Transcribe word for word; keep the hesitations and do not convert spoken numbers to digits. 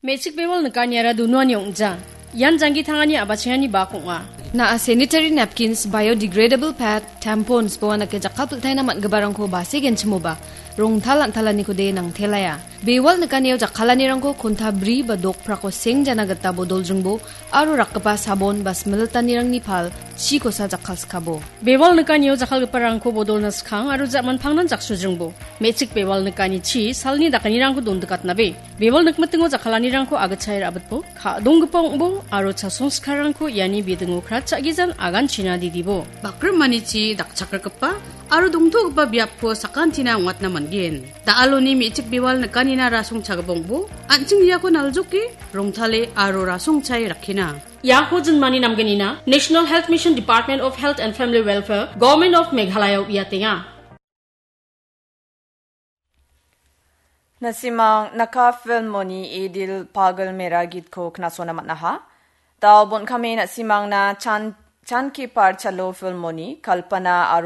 Me·chik bewal nikaniara dunuani ong·ja. Ian janggi tangani a·bachengani bak ong·a. Na·a sanitary napkins, biodegradable pad, tampons, boa nake jakkalpiltaina man·giparangko base genchimoba, rongtal an·talanikode nangtelaia. Bewal nikanio jakkalanirangko konta bri ba dokprako seng jana gita bodoljringbo aro rakgipa sabon ba smilitanirangni pal chikosa jakkalskabo. Bewal nikanio jakkalgiparangko bodolna skang aro ja·manpangnan jaksojringbo. Me·chik bewal nikani chi salni dakanirangko dondikatnabe. Bewal nikmitingo jakkalanirangko agitchae ra·bitbo, ka·donggipa ong·bo aro chasongskaranko iani bidingo kratcha·gijan aganchina didibo. Bakrimani chi dakchakrigipa aro dongtogipa biapko sakantina ong·atna man·gen. Da·aloni me·chik bewal nikanina rasongchagipongbo, an·ching iako naljoke, rongtale aro rasongchae rakkina. Iako jinmani namgnina National Health Mission, Department of Health and Family Welfare, Government of Meghalaya-o uiatenga. Na·simang naka filmoni idil Pagal Mera Geet-ko knasona man·aha. Dao bon·kame na·simangna Chan, Chan Ki Par Chalo filmoni Kalpana